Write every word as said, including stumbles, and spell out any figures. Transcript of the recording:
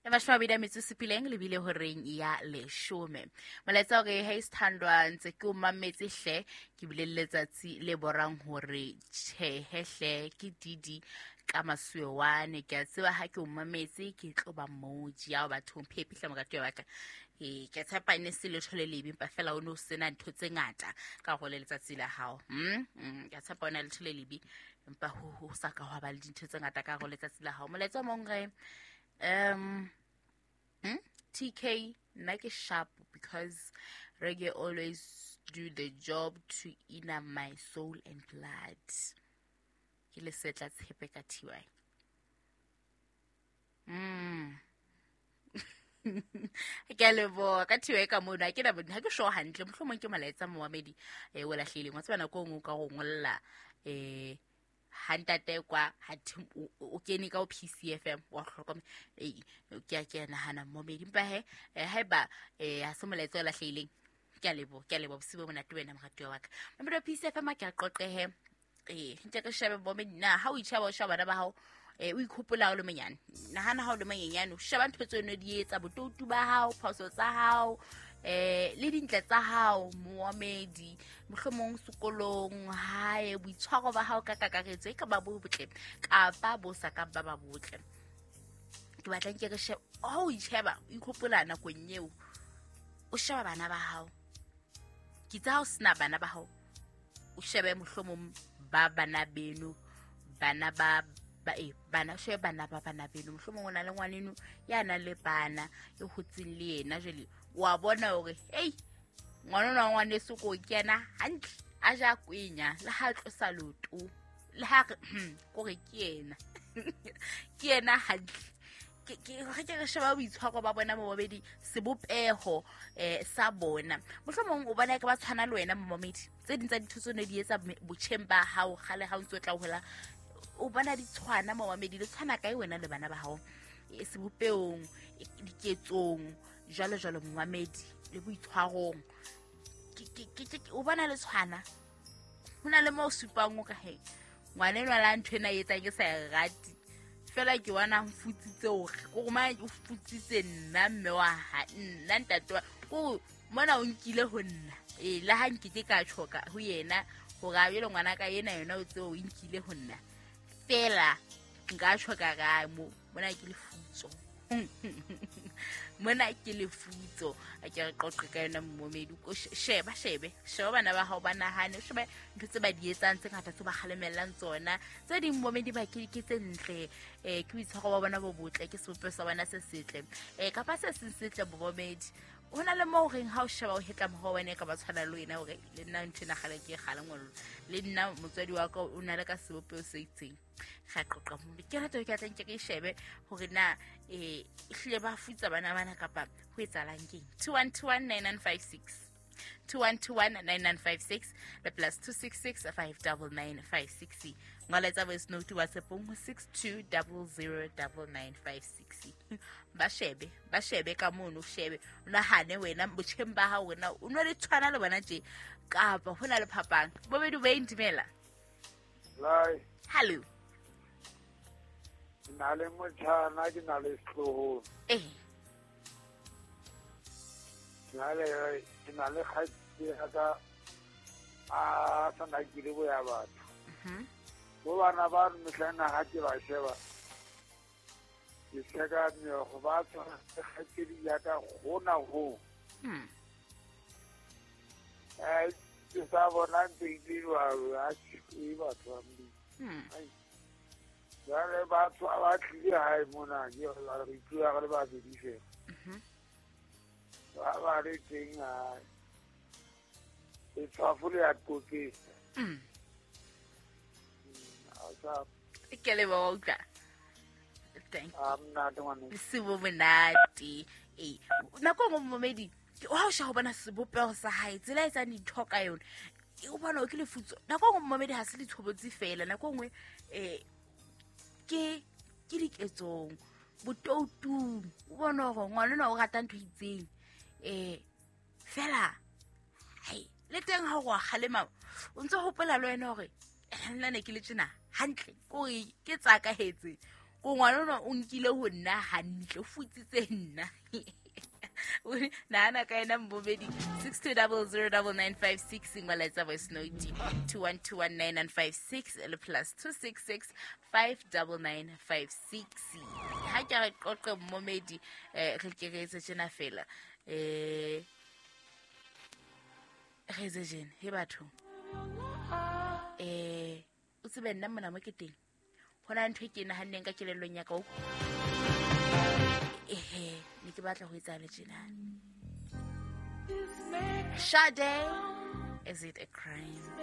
E mashome a mabedi a metso e supileng lebile horeng ya leshome. Molaetsa hore hey Sithandwa, ntse ke o mametse hle, ke bile le letsatsi le borang hore tjhehe hle ke Didi ka masuewane. Ke a tseba ha ke o mametse ke tlo ba moji ya bathong phepi hle moratuwa wa ka. E ke tshepa e ne se letho le lebe, empa fela o ne o sena ntho tse ngata ka hore le letsatsi la hao. Mm, mm, ke a tshepa o na letho le lebe, empa ho ho sa ka hwa ba le dintho tse ngata ka hore letsatsi la hao. Molaetsa o mong re um hmm? T K nna ke sharp because reggae always do the job to inner my soul and blood. Ke le setla tshepe ka T Y. Mm. Ke a leboha ka T Y ka mono, ha ke na ha ke sure hantle, mohlomong ke molaetsa momamedi eh o lahlehileng. Wa tseba nako e nngwe o ka go ngolla eh ha ntate kwa ha o kene ka o P C F M wa hlokomela eh ke a ke nahana momedi, empa he haeba eh ha se molaetsa o lahlehileng. Ke a leboha, ke a leboha bosibu bo monate wena moratuwa wa ka. Mamedi wa P C F M ke a qoqehe eh ntse ke shebe bomedi na ha o itjheba o sheba bana ba hao eh o ikhopola o le monyane, nahana ha o le monyenyane o sheba ntho tseo ne di etsa, botoutu ba hao, phoso tsa hao eh le dintle tsa hao moamedi, mohlomong sekolong hae, boitshwaro ba hao ka kakaretso e ka ba bo botle kapa bo sa ka ba ba botle. Ke batla nke re shebe ha o itjheba o ikhopola nakong eo o sheba bana ba hao, ke tsa ha o sena bana ba hao o shebe mohlomong ba bana beno, bana ba ba e bana shebe bana ba bana beno, mohlomong o na le ngwaneno ya nang le bana e hotseng le yena, jwale wa bona hore hey ngwana wa ngwaneso ko kena hantle a ja kwenya le ha tlosa loto le ha re kore ke yena ke yena hantle. Ke ke re ke re sheba boitshwaro ba bona momamedi, sebopeho eh sa bona, mohlomong o bona ke ba tshwana le wena momamedi, tse ding tsa dintho tseo ne di etsa botjheng ba hao kgale ha o ntse o tla hola, o bona di tshwana momamedi, le tshwana kae wena le bana ba hao e sebopehong, diketsong jwalo jwalo momamedi, le boitshwarong ke ke ke o bona le tshwana. Ho na le mo supang o ka he ngwana enwa la ntho ena e etsang ke sa e rate fela ke bona o futsitse hore ko ma o futsitse nna mme wa ha nna ntate wa ko mona o nkile ho nna e la ha nkike ka tshoka ho yena hore a bele ngwana ka yena yena o tseo o nkile ho nna fela nka tshoka ga mo mona ke lefutso mona ke lefutso. A ke re qoqe ka yona momedi, o sheba shebe sheba bana ba hao ba nahane, o shebe ntho tse ba di etsang tse ngata tse ba kgalemellang tsona, tse ding momedi ba ke ke tse ntle eh ke boitshwaro ba bona bo botle, ke sebopeho sa bona se setle eh kapa se seng setle bomedi. Ho na le mo reng ha o sheba o hetla moho wena ka ba tshwana le wena hore le nna ntho ena kgale ke kgale ngolo le nna motswadi wa ka o na le ka sebopeho se itseng. Ga qoqa mo ke rata ke tla nke ke shebe hore na eh hlile ba futsa bana bana kapa ho etsahalang keng. two one two one nine nine five six two one two one nine nine five six le plus two six six five nine nine five six. Ngola tsa voice note WhatsApp ho six two zero zero nine nine five six. Ba shebe ba shebe ka mono, shebe o nahane wena botjheng ba hao wena o no le tshwana le bona tje kapa hona le phapang. Bobedi ba intimela. Lai. Hello. Ke na le motjhana, ke na le setloholo. Eh. Ke na le ke na le kgaitsedi ya ka a sa nakile bo ya batho. Mhm. Bo bana ba re mehlana ha ke ba sheba. Ke seka meokgo ba tshwana le kgaitsedi ya ka hona ho. Hmm. Eh ke sa bona ntse e dirwa ha ke batho ba Modimo. Hmm. Jwale batho ba tlile hae mona ke re itlwa re le babedi fela. Mhm. Ba ba re teng hae. E tshwafo le ya qoqetsa. Mm. A Ke leboha utlwa. Thank you. A monate ngwane. Bosibu monate. Eh, nako e nngwe momedi ha o sheba ho bona sebopeho sa hae, tsela e etsang dintho ka yona, o bona o ke lefutso. Nako e nngwe momedi ha se ditshobotsi fela, nako e nngwe eh ke ke diketsong, botoutung, o bona hore ngwana enwa o rata ntho e itseng eh fela hai le teng ha o kgalema o ntse hopola le wena hore nna ne ke le tjena hantle kore ke tsakahetse Ko ngwana ona o nkile ho nna hantle, o futsitse nna. Nahana ka ena mbobedi six two double zero double nine five six molaetsa voice note two one two one nine nine five six le plus two six six five double nine five six. Ha ke re qoqe mmomedi eh re ke re etse tjena fela eh re etse jene he batho eh o tsebe nna mona mo ke teng hona ntho e ke nahanneng ka kelellong ya ka o ehe ne ke batla ho etsa le tjena. Sade, is it a crime?